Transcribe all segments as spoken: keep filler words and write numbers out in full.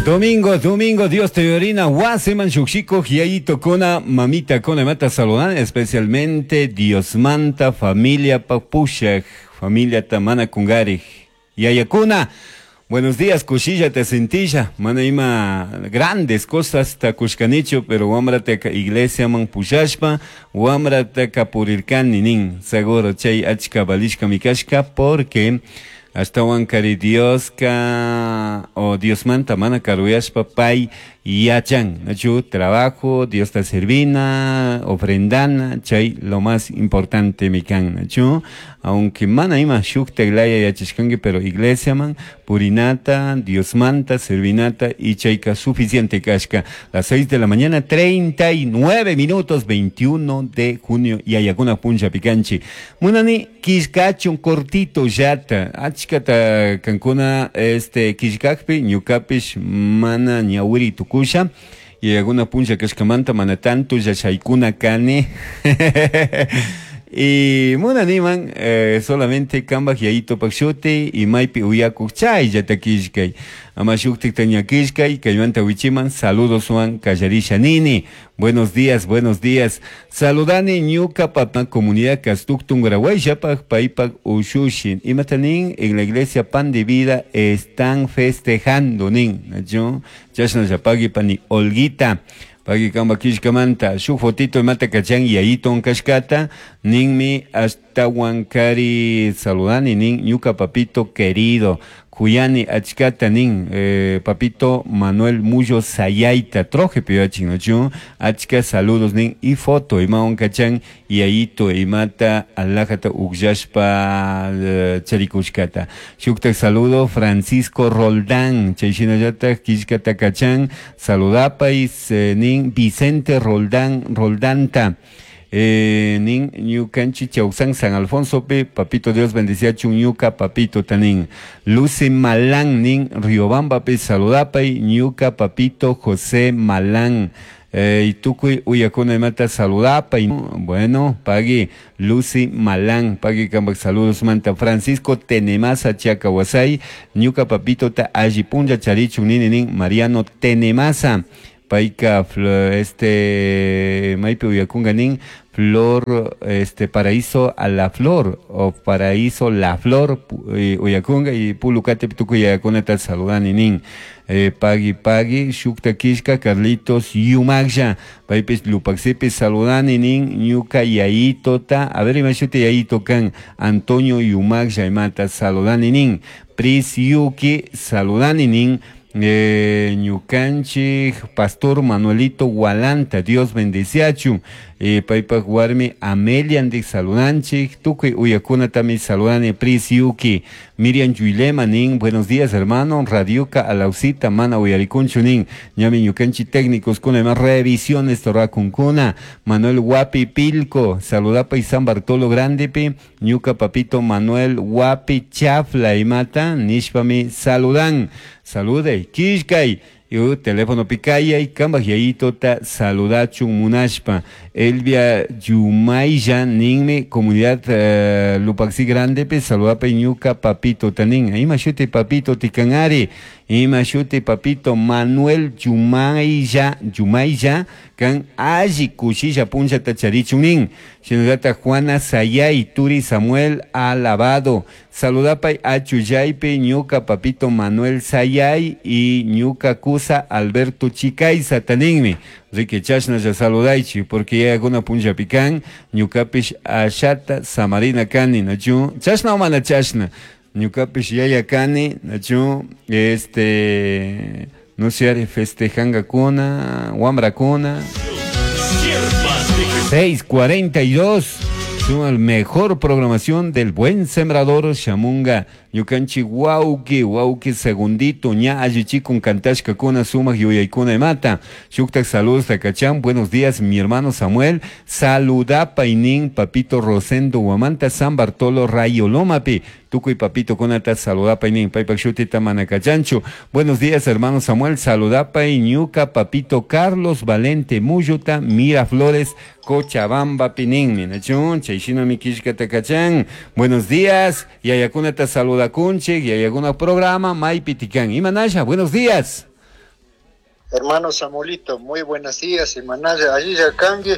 Domingo, domingo, Dios te orina, wasiman shukshiko, yayito kona, mamita kona, mata saludan, especialmente Dios manta, familia papushak, familia tamana kungari, yayakuna. Buenos días, kushilla te sentilla, mana ima grandes cosas ta kushkanichu, pero wamrataka iglesia man pushashpa, wamrataka purirkani nin, seguro chay achka balishka mikashka, porque ashtawan kari Dioska o Dios manta mana karuyashpa pay yachan, nachu trabajo, Dios ta servina, ofrendana, chay lo más importante mikan, nachu, aunque mana ima shukta laya yachashkanki, pero iglesia man, purinata, Dios manta, servinata y chayka suficiente kashka. Las seis de la mañana, treinta y nueve minutos, veintiuno de junio, y ayakuna puncha picanchi. Munani, kishkachun cortito yata, achkata kankuna, este, kishkakpi, ñukapish, mana ñawiri tukusha, y alguna puncha kashkamanta, mana tanto yachaykuna kani. Y munaniman, eh, solamente kambaj yayito pakshuti y maypi uyakuk chay yatakishkay. Ama shuktik tañakishkay, kaymanta wichiman, saludos wan kallarisha nini. Buenos días, buenos días. Saludani ñuka papa comunidad Kastuktun Grahuayshapaj, paypak ushushin. Imatanin en la iglesia Pan de Vida están festejando nin. Nacho, chashna yapagi pani Olguita. Pagi kamba kishkamanta, shuk fotito mata kachan yayito kashkata, ninmi hasta huancari saludani nin ñuka papito querido, kuyani achkata nin, eh, papito Manuel Muyo Sayaita, troje pioachin nochu, achka saludos nin y foto imaon kachan yayito imata alajata ukllashpa, eh, charikushkata. Shuktak saludo Francisco Roldán, chayshinallata kishkata kachan, saludapais, eh, nin Vicente Roldán, Roldanta. Eh, nin ñukanchi Chausan San Alfonso pe, papito Dios bendecía ñuka papito tanin. Lucy Malán nin Riobamba pe saludapay ñuka papito José Malán. Eh, y tukuy uyakuna imata saludapay. Bueno, pagui Lucy Malán, pagui kambak saludos manta Francisco Tenemasa Chiacahuasay, ñuka papito ta allipunlla charichun nini nin Mariano Tenemasa. Paika, este, maipi uyakunga nin, flor, este, paraíso a la flor, o paraíso la flor, eh, uyakunga, y pulukate pituku yakuna tal saludani nin. Eh, pagui, pagui, shukta kishka, Carlitos Yumagsha, paipis lupaxipi saludani nin, ñuka yayito ta, a ver, imashute yayito kan, Antonio Yumagsha imata saludani nin, Pris Yuki saludani nin, Eh, ñukanchik Pastor Manuelito Gualanta, Dios bendeciachu, eh, paypak warmi Amelia ndik saludanchik, tukuy uyakunatami saludani Pris Yuki, Miriam Yuilema nin, buenos días hermano, Radiuka alausita mana uyarikunchu nin, ñami ñukanchik técnicos kuna más revisiones torrakunkuna, Manuel Guapi Pilco, saludapa y San Bartolo Grandepi, ñuka papito Manuel Guapi Chafla imata, nishpami saludan. Salude, kishkay, yu teléfono pikaya y kambaj yayito ta saludachun munashpa. Elvia Yumayya ninmi, comunidad, eh, Lupaxi Grande, pe saludapa ñuka papito tanin. Ima shuti papito tikanari, ima shuti papito Manuel Yumayya, Yumayya, kan alli kushilla puncha tacharichun nin. Shinallata Juana Sayay, Turi Samuel Alabado. Saludapa achuyaype ñuka papito Manuel Sayay y ñuka kusa Alberto Chicaiza taninmi. Rique chashna ya saludaichi, porque ya alguna puncha pican, ñukapish ashata samarina kani, nachu, chashna o mana chashna, ñukapish yaya kani, nachu, este, no sé, festejanga kuna, wambra kuna. seis cuarenta y dos. Suma mejor programación del buen sembrador Shamunga. Ñukanchi wauki, wauki segundito, ña allichikun kantashka kuna sumaj yuyaykuna imata. Shuktak saludos takachan, buenos días mi hermano Samuel. Saludapa inin papito Rosendo Guamanta San Bartolo Rayo Lomapi. Tukuy papito kunata saludapa inin paypak shutita manakachanchu. Buenos días hermano Samuel, saludapa ñuka papito Carlos Valente Muyuta Miraflores Cochabamba pininmi. Nachun, chayshina mi kishka takachan. Buenos días, yayakunata saluda kunchik, yayakuna programa maypi tikan. Imanasha, buenos días. Hermano Samuelito, muy buenos días. Imanalla allilla kanki,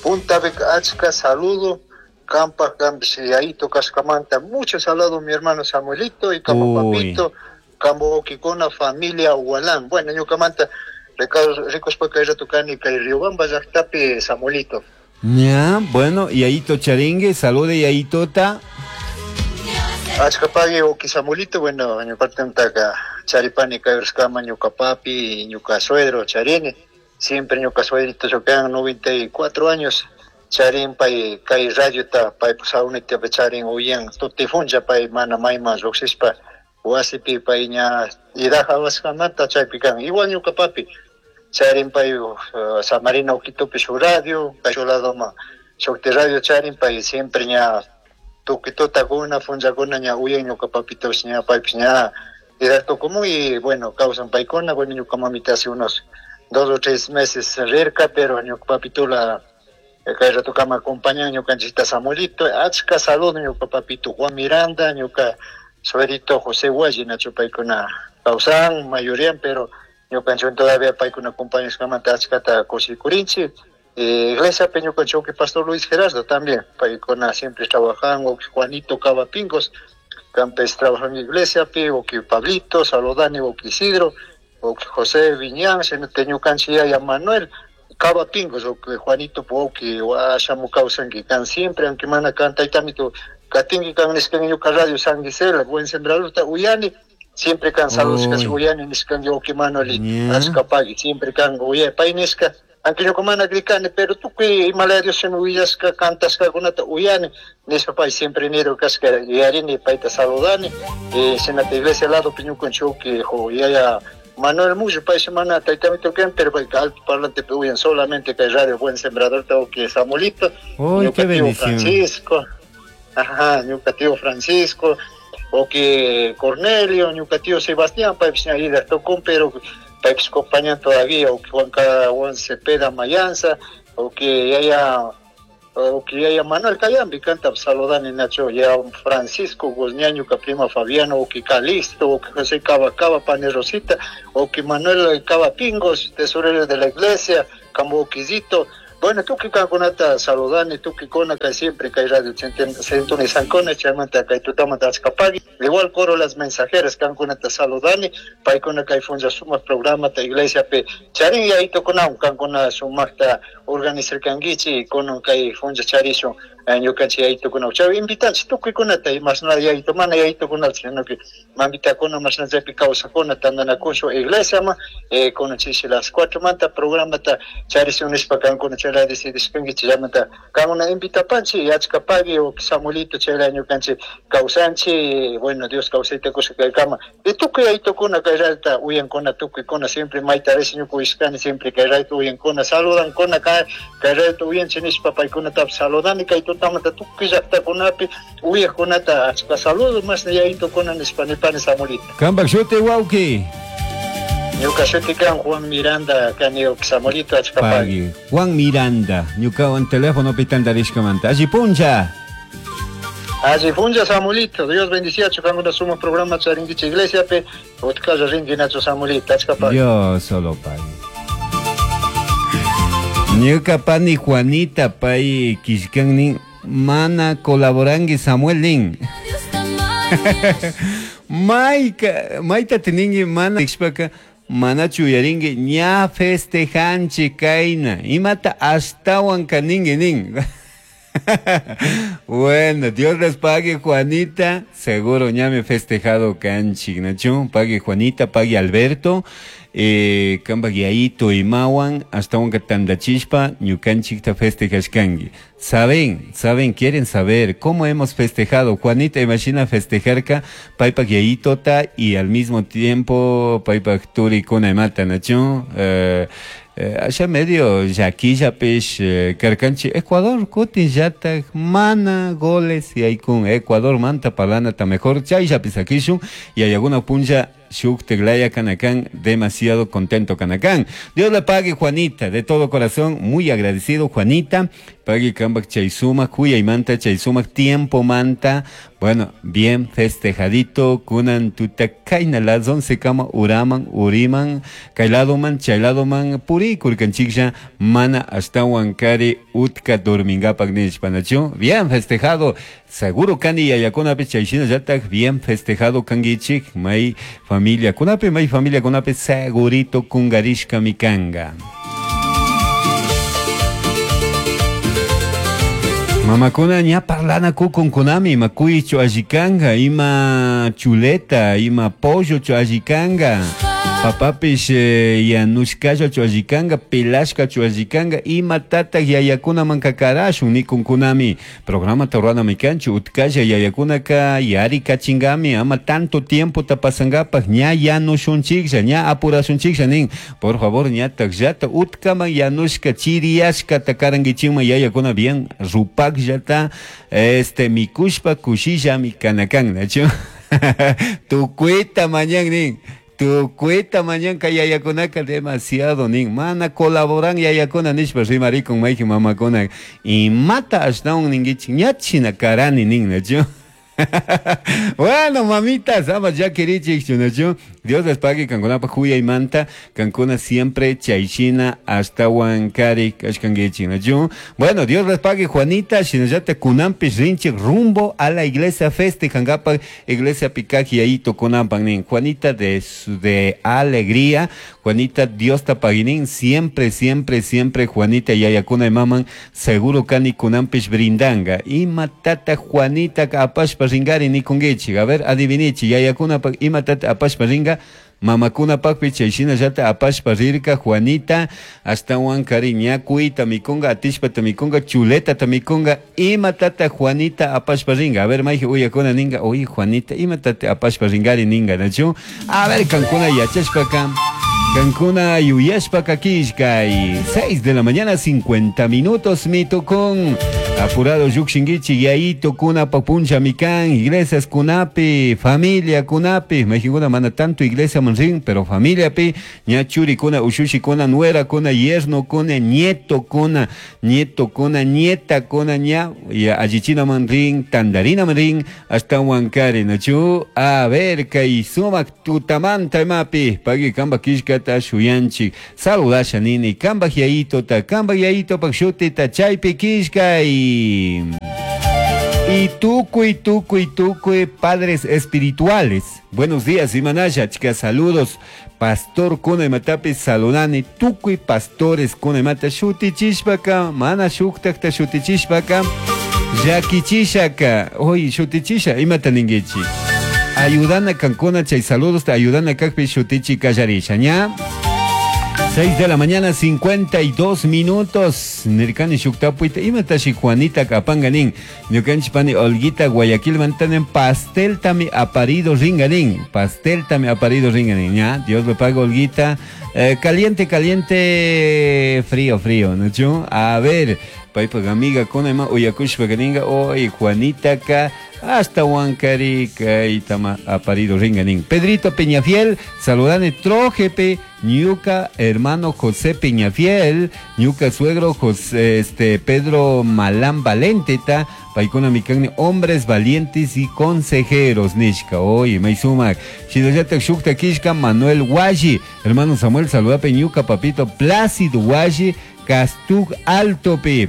punta achka saludo. Kampa yayito kashkamanta, mucho saludo mi hermano Samuelito y kamba papito, kambo con familia Hualán. Bueno, ñukamanta rikushpaka rato kani kay Riobamba llaqtapi Samuelito. Ya, bueno, yayito charingue, salude yayitota. Achka pagui wawki Samuelito, bueno, ñuqatantaka charipani kay urskama ñuka papi, ñuka suegro charini, siempre ñuka suegrito chocan noventa y cuatro años, charin pay kay radiota pay saunita charin uyan tutifuncha pay mana mayman lluqsispa wasipi pay ña idaja wasqamanta chaypi kan igual ñuka papi charin pay uh, Samarina Uquitopi su radio kay ladoma shukti radio charin pay siempre ña tuquitotakuna funchakuna ña uyan ñuka papitos ña paypis ña idacto común y bueno causan paykuna bueno ñuka mamita hace unos dos o tres meses rirka pero ñuka papito la kay rato kama acompañan ñukanchikta Samuelito achka saludo ñuka papito Juan Miranda ñuka suegrito José Hualli nacho paykuna kawsan mayoría pero ñukanchik todavía paykuna acompañashkamanta achkata kushikurinchik. Eh, iglesia Peñucanchoque, Pastor Luis Gerardo también, paykuna siempre trabajan, o Juanito Cavapingos, Campes trabajan en iglesia, o que Pablito, Saludani, o que Isidro, o que José Viñán, Teñucanchía y Manuel, Cavapingos, o que Juanito, o que Ashamu causan que can siempre, aunque mana canta y tamito, Katingi can ñuka radio San Gisela, buen sembrador, Uyani, siempre can saludos, que Uyani, niscan yo que Manuel, Azcapagui, siempre can Uye, Painesca. Aunque yo como ana pero tú que Himalaya Dios se me huyasca, cantas kunata uyani, nispa pay siempre niro casca yarini payta saludani, eh senata iglesia lado piñucon choque jo yaya Manuel Muyo pay semana taytamito ken pero pay alto parlante uyan solamente que radio buen sembrador tengo que Samuelito, uy, qué bendición. Francisco, ajá, ñuka tío Francisco, o que Cornelio, ñuka tío Sebastián pay ida tocó pero paypis acompañan todavía, o que Juan Juan Cepeda Mayanza, o que haya, o que haya Manuel Cayambi, canta saludani Nacho, ya Francisco Guzñaño, prima Fabiano, o que Calisto, o que José Cava Cava, Pane Rosita, o que Manuel Cava Pingos, tesorero de la iglesia, Camboquisito. Bueno, tú que kankunata saludani, tú que con acá siempre que hay radio Centuni Sancona, chamanta kay tutamanta achkapagui, igual coro las mensajeras kankunata saludani, paykuna kay funcha sumaq programa ta iglesia pe charin yayito kunawan kankuna sumaqta organizarkankichik kunan kay funcha charishun ñukanchik yayito kunawan chay invitanchik tukuykunata imasna yayito mana yayito kunata sino que mamitakuna masna chaypi kawsakuna tantanakushun iglesiaman eh, kunan chishi las cuatro manta programata charishun nishpa kankuna chay decidishkankichik llamanta kankuna invitapanchik achkapagui o Samuelito chayla ñukanchik kawsanchik bueno Dios kawsayta kusha kaykama y tukuy yaytukuna kay rayta uyankuna tukuykuna siempre mayta rish ñuka uyashkani siempre kay rayta uyankuna saludankuna kay kay rayta uyanchik nishpa paykunatapish saludani kay tutamanta tukuy llaqtakunapi uyaqkunata achka saludo masna yaytukuna nishpa nipani Samuelito. Kampak shuti wawqi. Ñuka shuti kan Juan Miranda kani Samuelito achkapagui. Juan Miranda, ñukawan teléfono pitantarishkamanta. Alli puncha. Alli puncha Samuelito, Dios bendiciachu kankuna sumaq programa charinkichik iglesia pe utkalla rinki nacho Samuelito achkapagui. Dios solo pagui. Ñuka pani Juanita pay kishkannin mana colaborangi Samuel nin. Mayka mayta tiningi mana ishpaka manachu uyaringi ña festejanchik kayna imata ashtawan kaningi nin. Bueno, Dios les pague Juanita, seguro ya me festejado kanchik nachu, pague Juanita, pague Alberto, eh, kamba guiaito imawan, hasta un tandachishpa, ñukanchikta festejashkangi. Saben, saben, quieren saber cómo hemos festejado. Juanita, imagina festejarka, paypa guiaitota y al mismo tiempo paypa turi kuna imata nachu, eh, Eh, allá medio yaquillapish eh, karkanchi Ecuador kutin llatak mana goles y hay con Ecuador manta palana ta mejor chayllapis akishun y hay alguna puncha shukteglaya kanakan demasiado contento kanakan. Dios le pague Juanita, de todo corazón, muy agradecido Juanita, pague kambak chaysuma, kuya y manta chaysuma, tiempo manta, Bueno, bien festejadito, kunan tuta kayna las once kama uraman, uriman, kayladoman, chayladoman, purikurkanchiklla, mana ashtawan kari utka dormingapak nishpa, nachu? Bien festejado, seguro kani yayakunapi chayshinallataq bien festejado kankichik, may familia kunapi, may familia kunapi segurito kungarishkami kanga. Mamakuna ña parlana kukunkunami, ima kuychu allikanga, ima chuleta, ima pollo chu allikanga, papapish eh, yanushkalla chu allikanga, pelashka chu allikanga, ima tataq yayakunaman kakarashun nikunkunami. Programa ruranami kanchu, utkalla yayakunaka yarikachingami, ama tanto tiempo ta pasangapaj, ña yanushunchiklla, ña apurashunchiklla nin. Por favor, ñataqllata utkaman yanushka chiriyashka takarankichikman yayakuna bien rupakllata este mikushpa kushillami kanakan, nachu? Tukuyta mañan nin. Tukuyta mañan kay yayakunaka demasiado nin. Mana colaboran yayakuna nishpa rimarikun mayqin mamakuna. Imata ashtawan ninkichik ñachina karani nin, nachu? Bueno, mamitas, ama llakirichik, nachu? Dios les pague kankunapaj huyaymanta, kankuna siempre chayshina ashtawan kari kashkankichik, nachu? Bueno, Dios les pague Juanita, shinallata kunanpish rinchik rumbo a la iglesia festejankapaj, iglesia pikaj yayito kunanpan nin. Juanita de, de alegría, Juanita Dios ta paguinin, siempre, siempre, siempre Juanita yayakuna imaman, seguro kani kunanpish brindanga. Ima tata Juanita apashpa ringari nikunkichik, a ver, adivinichik, yayakunapaj ima tata apashpa ringa, mamakunapajpi chayshinallata apashpa rirka Juanita, ashtawan kari ñakuyta mikunga, atishpata mikunga, chuletata mikunga, ima tata Juanita apashpa ringa. A ver, mayji uyakuna ninga, oye Juanita, ima tata apashpa ringari ninga, nachu? A ver, kankuna yachashpaka, kankuna yuyashpaka kishkay. seis de la mañana, cincuenta minutos, mi tukun. Apurado llukshinkichik, yayito kunapa puncha mikan, iglesias kunapi, familia kunapi, mayjinkuna mana tanto iglesia man rin, pero familia pi, ña churi kuna, ushushi kuna, nuera kuna, yerno kuna, nieto kuna, nieto kuna, nieta kuna, ña, ya allichina man rin, tandarina man rin, hasta huancari, nachu? A ver, kay sumak tutamanta imapi, pagui kamba kishkata shuyanchik, saludasha nini, kamba yayito ta, kamba yayito pak shutita, chaypi kishkay. Y tucuy, tucuy, tucuy, padres espirituales. Buenos días, Imanaya, chicas, saludos. Pastor kuna imatapi saludani, tucuy pastores kuna imata shutichishpaka, mana shuktakta shutichishpaka, yakichishaka, oy, shutichisha, imata ningichi. Ayudana kankuna, chay saludos, te ayudana kakpi shutichi kallarisha, ña. seis de la mañana, cincuenta y dos minutos. Nirkani shuktapuita, imatashi Juanita kapanganin. Ñukanchik pani Olguita Guayaquil mantanen pastel tami aparido ringanin. Pastel tami aparido ringanin. Ya, Dios le paga Olguita. Eh, caliente, caliente, frío, frío, ¿no? A ver, paypak amiga kuna ima uyakushpa kaninga, oy Juanita ka hasta Huancari kaytama aparido ringanin. Pedrito Peñafiel, saludane trojepe, ñuka hermano José Peñafiel, ñuka suegro José, este, Pedro Malán Valenteta, paykuna mikanni hombres valientes y consejeros, nishka, oye, maysumak, shinallatak shukta kishka Manuel Washi, hermano Samuel, saludape ñuka papito Plácido Washi, Castug Altopi.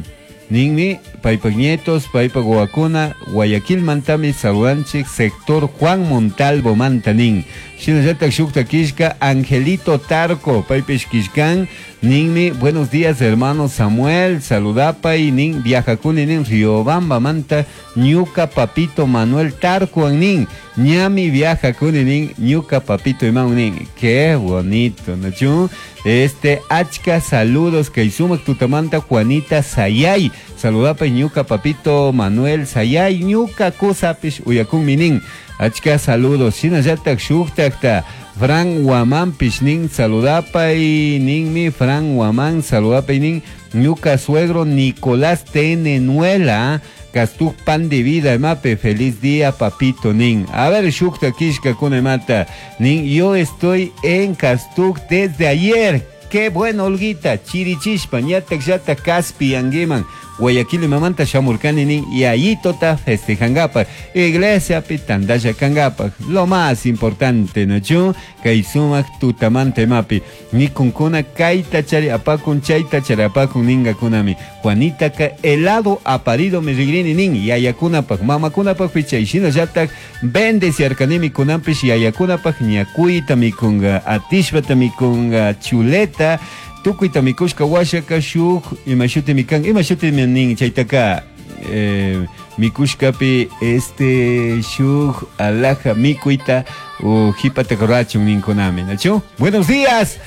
Ninmi, paypak nietos, paypak wawakuna, Guayaquil mantami saludanchik, sector Juan Montalvo mantanin. Shinallatak shukta kishka, Angelito Tarco, paypish kishkan, ninmi, buenos días hermano Samuel, saludapay, nin, viajakuni nin, Riobamba manta, ñuka papito Manuel Tarco nin, ñami viajakuni nin, ñuka papito imán nin. Qué bonito, ¿no? Este, achka saludos, kay sumak tutamanta Juanita Sayay, saludapay ñuka papito Manuel Sayay, ñuka kusapish uyakun minin. Achka saludos, shinallatak shuktakta Fran Guamán pishnin, saludapay ninmi, Fran Guamán, saludapay nin, ñuka suegro Nicolás Tenenuela, Castug pan de vida, mape, feliz día, papito nin. A ver, shukta kishka kunemata, nin, yo estoy en Castug desde ayer. Qué bueno, Olguita, chirichishpa, ñatak yata kaspi anguiman. Guayaquil imamanta shamurkani nin yayitota festejankapak iglesiapi tandalla kankapak lo más importante nachu kay sumak tutamanta imapi mikunkuna kayta chari apakun chayta chari apakun ninkakunami Juanitaka helado aparido mi rigrini nin yayakunapak mamakunapak chay shinallatak bendeciarkanimi kunanpish yayakunapak ñakuyta mikunga atishpata mikunga chuleta tukuyta mikushka washaka shuk ima shutimi kan ima shutimi nin chaytaka eh, mikushkapi este shuk alhaja mikuyta o jipata rurachun ninkunami nachu buenos días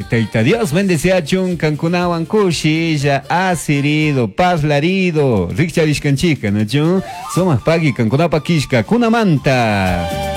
Taita Dios bendeciachun kankunawan kushilla asirido parlarido rikcharishkanchika nachu sumak pagi kankunapa kishka kunamanta.